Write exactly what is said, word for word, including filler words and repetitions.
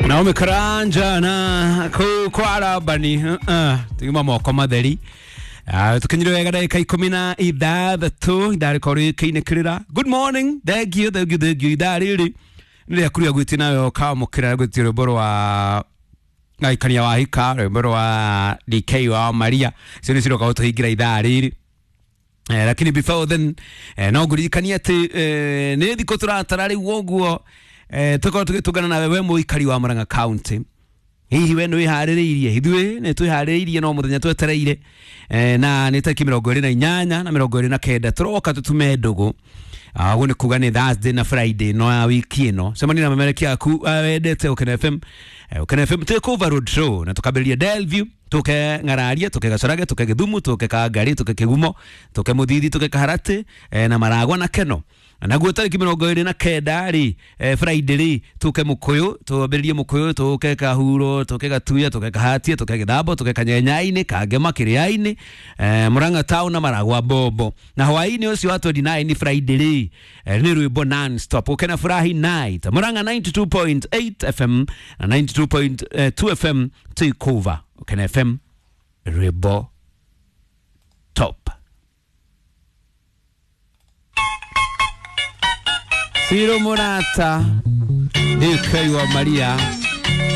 Naomi Karanja na kuu kwarabani uh, tugima moko matheri. Uh, tukinyire wega ndagika ikumi na ithathatũ ithaa rĩkorwo rĩkĩinĩkĩrĩra. Good morning, thank you, thank you, thank you. Ithaa rĩrĩ nĩ rĩaku rĩa gwĩtia nawe ũkamũkĩra gwĩtia rwĩmbo rwa Ngaikania wa Hika, rwĩmbo rwa D K wa Maria, icio nĩ ciroka gũtũhingĩra ithaa rĩrĩ. Eh, lakini before then eh, no ngũririkanie atĩ eh, nĩ thikũ tũratara rĩu ũguo eh, tũkorwo tũgĩtũngana nawe we mũikari wa Murang'a County. Hihi we nĩ wĩharĩrĩirie? Ithuĩ nĩ twĩharĩrĩirie no mũthenya twetereire eh, na nĩ tarĩki mĩrongo ĩrĩ na inyanya na mĩrongo ĩrĩ na kenda tũroka tũtume ndũgũ. Ũguo nĩ kuga nĩ Thursday na Friday no ya wiki ĩno. Cemania na memerekia aku wendete Ũkena F M. Ũkena F M take over road show na tũkambĩrĩria Delview, tuke Ng'araria, tuke Gacorage, tuke Gĩthumu, tuke Kangari, tuke Kĩgumo, tuke Mũthithi, tuke Kaharatĩ eh, na Maragwa na Keno. Naguo tarĩki mĩrongo ĩrĩ na kenda rĩ eh, Friday rĩ tuke Mũkũyũ, twambĩrĩrie Mũkũyũ, tuke Kahuro, tuke Gatuya, tuke Kahatia, tuke Gĩthambo, tuke Kanyenyainĩ, Kangema, Kĩrĩainĩ, eh, Murang'a town na Maragwa Bombo. Na hwaĩ-inĩ ũcio wa twenty-nine Friday rĩ eh, nĩ rwĩmbo non stop Ũkena Furahi night, Murang'a ninety-two point eight F M na ninety-two point two F M take over Ũkena F M rwĩmbo top. Ciro Murata, D K wa Maria.